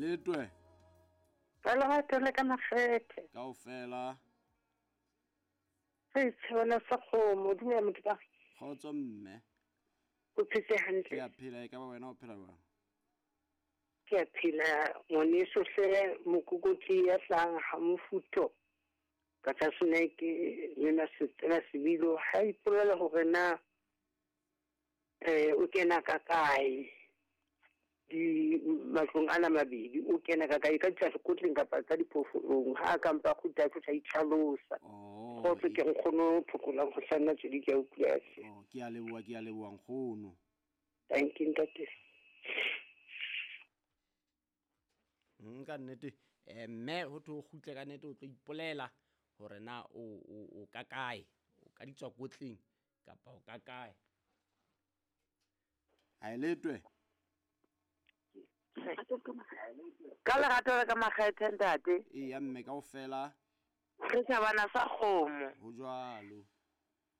Letwe. Ka lerato le ka makgethe. Kaofela. Re tshebana sa kgomo, dumela motho ka. Kgotso mme. O phetse hantle. Ke a phela, e ka ba wena o phela jwang? Ke a phela ngwaneso hle mokokotli ya hlang ha mofutho. Ka tlase ke lena setsela sebilo ha ipolela hore na o kena ka kae di matlong ana mabedi, o kena ka kae ka ditlasekotleng kapa ka diphoofolong, ha ka mpa kgutla a tlo itlhalosa. Kgotso ke nkgono phokolang go hlanna tswedi ke a utlwa. Oh, ke a leboha, ke a leboha nkgono. Thank you ntate. Ka nnete mme ho thwe o kgutle ka nnete o tlo ipolela hore na o ka kae, o ka ditswakotleng kapa o ka kae. Ha e letwe. Ka lerato le ka makgethe ntate. Eya mme kaofela. Re tjhabana sa kgomo. Ho jwalo.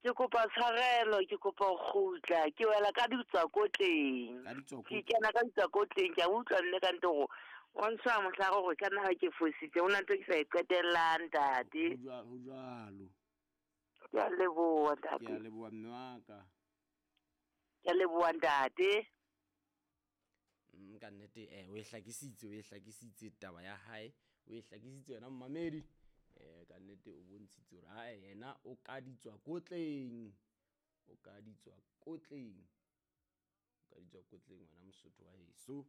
Ke kopa tshwarelo, ke kopa ho kgutla, ke wela ka ditswakotleng. Ka ditswakotleng. Ke kena ka ditswakotleng, ke a utlwa nne ka nte hore o ntsha mohlare hore ka nna ha ke fositse, ho na ntho ke sa e qetellang ntate. Ho jwalo. Ke a leboha ntate. Ke a leboha mme wa ka. Ke a leboha ntate. Ka nnete o e hlakisitse, taba ya hae, o e hlakisitse yona mmamedi. Ka nnete o bontshitse hore ha yena o ka ditswakotleng, o ka ditswakotleng, o ka ditswakotleng wena Mosotho wa heso.